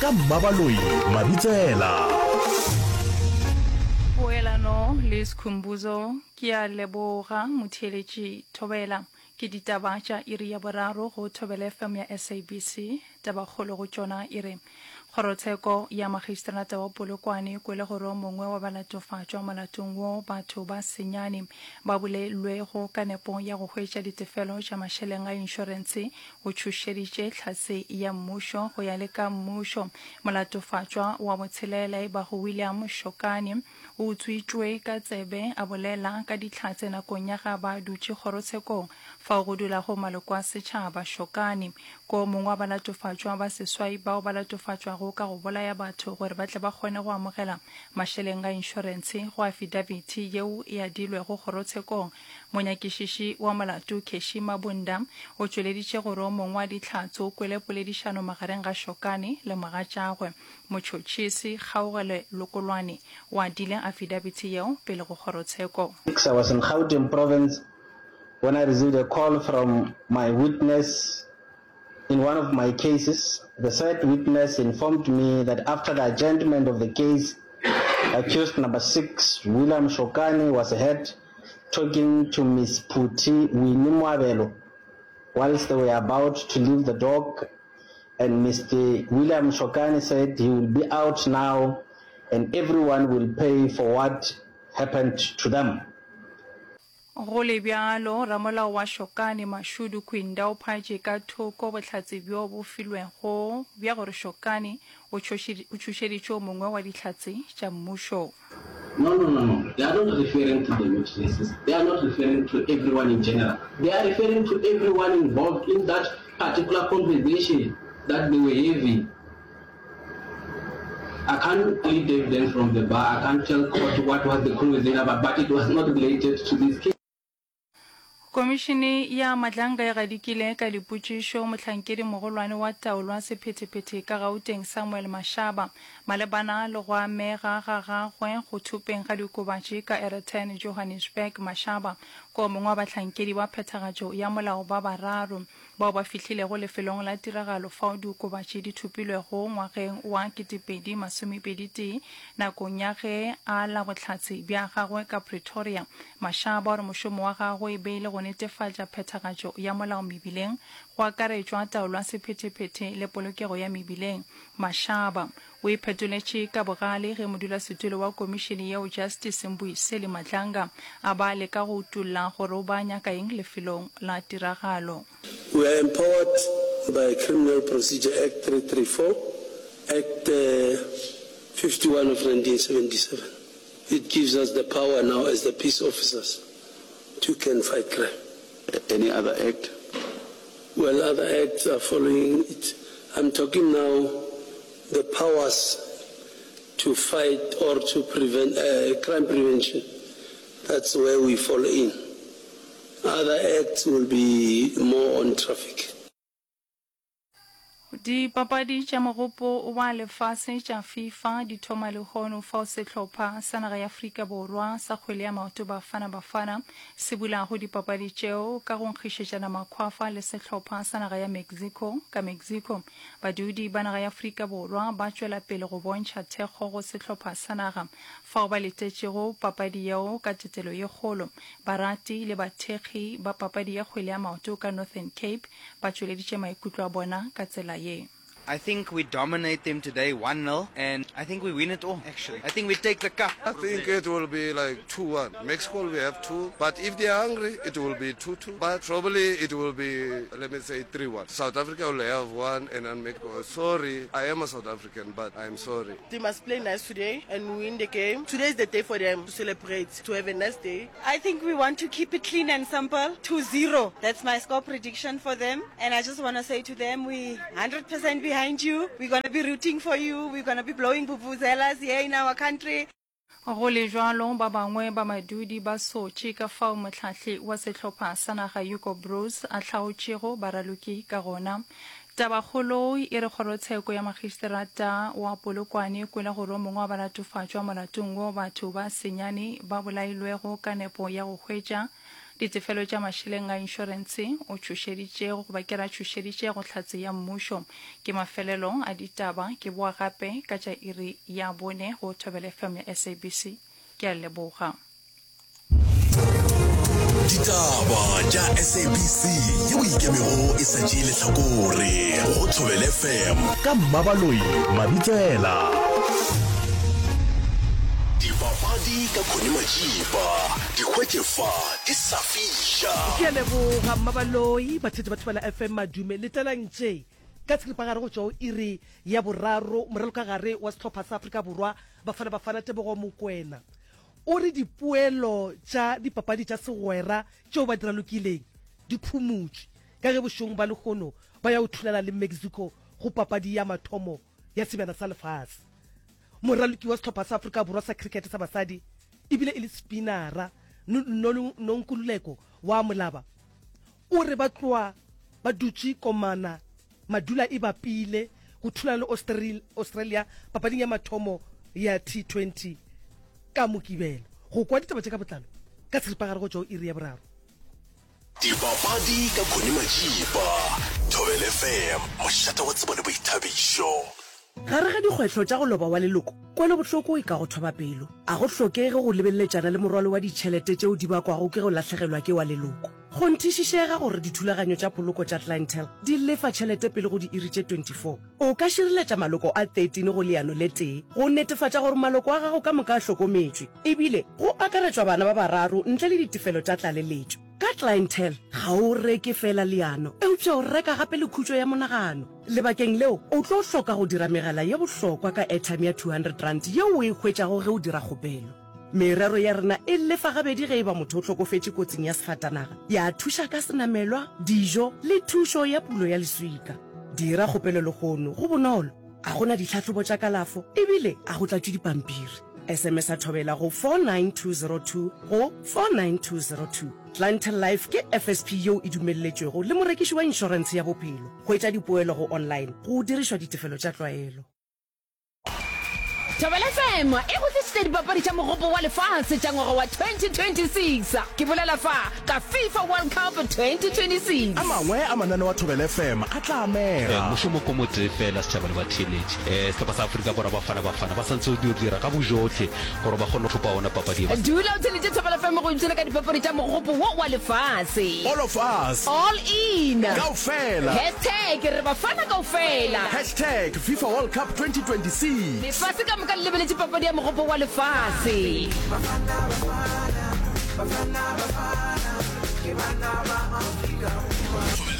Ka Mmabaloi Mabitsela. Poelano le Skhumbuzo Ke a leboga motheeletši Thobela. Ke ditaba tša iri ya boraro go Thobela FM ya SABC. Tabakgolo go tšona e re, Kgorotsheko ya Magistrata wa Polokwane e kwele gore o mongwe wa balatofatšwa molatong wo batho ba senyane ba bolelwego ka nepo ya go hwetša ditefelo tša mašeleng a inšorentshe o tšhošeditše hlatse ya mmušo go ya le ka mmušo. Molatofatšwa wa botshelela e bago William Shokane o utswitšwe ka tsebe a bolela ka dihlatse nakong ya ga ba dutše kgorotshekong fao go dulago maloko a setšhaba. Shokane ke o mongwe wa balatofatšwa ba seswai bao ba latofatšwago ka go bolaya batho gore ba tle ba kgone go amogela mašeleng a inšorentshe go afidabiti yeo e adilwego kgorotshekong. Monyakišiši wa molato Keshi Mabunda o tšweleditše gore o mongwe wa dihlatse o kwele poledišano magareng ga Shokane le mogatšagwe. Motšhotšhisi Kgaogelo Lokolwane o adile afidabiti yeo pele go kgorotsheko. I was in Gauteng province when I received a call from my witness in one of my cases. The said witness informed me that after the adjournment of the case, accused number 6, William Shokane, was heard talking to Ms Phuthi Winnie Moabelo whilst they were about to leave the dock, and Mister William Shokane said he will be out now and everyone will pay for what happened to them. Go le bjalo, ramolao wa Shokane, Mashudu Kwinda o phaetše ka thoko bohlatse bjo bo filwego bja gore Shokane o tšhošeditše o mongwe wa dihlatse tša mmušo. No, no, no, no, they are not referring to the witnesses, they are not referring to everyone in general, they are referring to everyone involved in that particular conversation that they were having. I can't lead evidence from the bar, I can't tell court what was the conversation about, but it was not related to this case. Komišene ya Madlanga e gadikile ka dipotšišo mohlankedi mogolwane wa taolo ya sephethephethe ka Gauteng Samuel Mashaba malebana le go amega ga gagwe go thopeng ga diokobatši ka Aeroton Johannesburg. Mashaba ke o mongwe wa bahlankedi ba phethagatšo ya molao ba bararo bao ba fihlilego lefelong la tiragalo fao diokobatši di thopilwego ngwageng wa 2021 nakong ya ge a la bohlatse bja gagwe ka Pretoria. Mashaba o re mošomo wa gagwe e be e le go netefatša phethagatšo ya molao mebileng, go akaretšwa taolo ya sephethephethe le polokego ya mebileng. Mashaba o iphetoletše ka bogale ge modulasetulo wa komišene yeo Justice Mbuyiseli Madlanga a ba a leka go utolla gore o ba nyaka eng lefelong la tiragalo. We are empowered by Criminal Procedure Act 334, Act 51 of 1977. It gives us the power now as the peace officers to can fight crime. Any other act? Well, other acts are following it. I'm talking now the powers to fight or to prevent uh, crime prevention. That's where we fall in. Other acts will be more on traffic. Dipapadi tša Mogopo wa Lefase tša FIFA di thoma lehono fao sehlopha sa naga ya Afrika Borwa sa kgwele ya maoto Bafana Bafana se bulago dipapadi tšeo ka go nkgišetšana makhwafa le sehlopha sa naga ya Mexico ka Mexico. Badudi ba naga ya Afrika Borwa ba tšwela pele go bontšha thekgo go sehlopha sa naga fao ba letetšego papadi yeo ka tetelo ye kgolo. Barati le bathekgi ba papadi ya kgwele ya maoto ka Northern Cape ba tšweleditše maikutlo a bona ka tsela ye. I think we dominate them today one nil and I think we win it all actually. I think we take the cup. I think it will be like 2-1. Mexico will have 2, but if they are hungry, it will be 2-2. But probably it will be, let me say, 3-1. South Africa will have 1 and then Mexico. Sorry, I am a South African, but I'm sorry. They must play nice today and win the game. Today is the day for them to celebrate, to have a nice day. I think we want to keep it clean and simple, 2-0. That's my score prediction for them. And I just want to say to them, we 100% behind you. We're going to be rooting for you. We're going to be blowing vuvuzelas here in our country. Go le bjalo, ba bangwe ba badudi ba sotše ka fao mohlahli wa sehlopha sa naga Hugo Broos a hlaotšego baraloki ka gona. Tabakgolo e re kgorotsheko ya magistrata wa Polokwane e kwele gore o mongwe wa balatofatšwa molatong wo batho ba senyane ba bolailwego ka nepo ya go hwetša. Ditefelo tša mašeleng a inšorentshe o tšhošeditše goba ke ra tšhošeditše go hlatse ya mmušo. Ke mafelelo a ditaba, ke boa gape ka tša iri ya bone go Thobela FM ya SABC. Ke a leboga. Ditaba tša SABC yeo ikemego e sa tšee lehlakore go Thobela FM ka Mmabaloi Mabitsela. Dipapadi ka Connie Majiba, di hwetše fa di sa fiša. Ke a leboga Mmabaloi, batheetši ba Thobela FM madume. Letelang tše ka tshiripagare go tšwa go iri ya boraro, moralokagare wa sehlopha sa Afrika Borwa Bafana Bafana Tebogo Mokoena o re dipoelo tša dipapadi tša segwera tšeo ba di ralokileng di phumotšwe ka ge bošegong ba lehono ba ya go thulana le Mexico go papadi ya mathomo ya Sebjana sa Lefase. Moraloki wa sehlopha sa Afrika Borwa sa cricket sa basadi ebile e le spinara Nonkululeko wa Molaba o re ba tloa ba dutše komana madula e bapile go thulana le Australia papading ya mathomo ya T20 ka Mokibelo. Go kwa ditaba tše ka botlalo ka seripagare go tšwa go iri ya boraro. Dipapadi ka Connie Majiba, Thobela FM, mošate wa tsebo le boithabišo. Gare ga dikgwetlho tša go loba wa leloko, kwelobohloko e ka go thoba pelo. A go hlokege go lebeleletšana le morwalo wa ditšhelete tšeo di bakwago ke go lahlegelwa ke wa leloko. Kgonthišišega gore dithulaganyo tša poloko tša Clientele di lefa tšhelete pele go diiri tše 24. O ka šireletša maloko a 13 go leano le tee go netefatša gore maloko a gago ka moka a hlokometšwe, ebile go akaretšwa bana ba bararo ntle le ditefelo tša tlaleletšo. Ka Clientele, ga o reke feela leano, eupša o reka gape le khutšo ya monagano. Lebakeng leo, o tlo hloka go dira megala ye bohlokwa ka airtime ya R200 yeo o e hwetšago ge o dira kgopelo. Merero ya rena e lefa gabedi ge e ba motho o hlokofetše kotsing ya sefatanaga, ya thuša ka senamelwa, dijo le thušo ya pulo ya leswika. Dira kgopelo lehono, go bonolo, ga go na ditlhahlobo tša kalafo ebile ga go tlatšwe dipampiri. SMS-a Thobela go 49202 go 49202. Clientele Life ke FSP yeo e dumelletšwego le morekiši wa inšorentshe ya bophelo. Hwetša dipoelo go online go dirišwa ditefelo tša tlwaelo. Thobela FM e go tlišitše dipapadi tša Mogopo wa Lefase tša ngwaga wa 2026. Ke bolela fa ka FIFA World Cup 2026. A mangwe a mananeo a Thobela FM a tla amega. Mošomo ko motee fela, setšhaba le batheeletši. Sehlopha sa Afrika Borwa Bafana Bafana ba santse go dio dira ka bojohle gore ba kgone go thopa ona papadi ye. Dula o theeletše Thobela FM go ipshina ka dipapadi tša Mogopo wo wa Lefase. All of us. All in. Kaofela. Hashtag re Bafana kaofela. Hashtag FIFA World Cup 2026. Lefase ka moka le lebeletše papadi ya Mogopo wa Lefase. Bafana, Bafana, Bafana, Bafana, ke bana ba Afrika Borwa.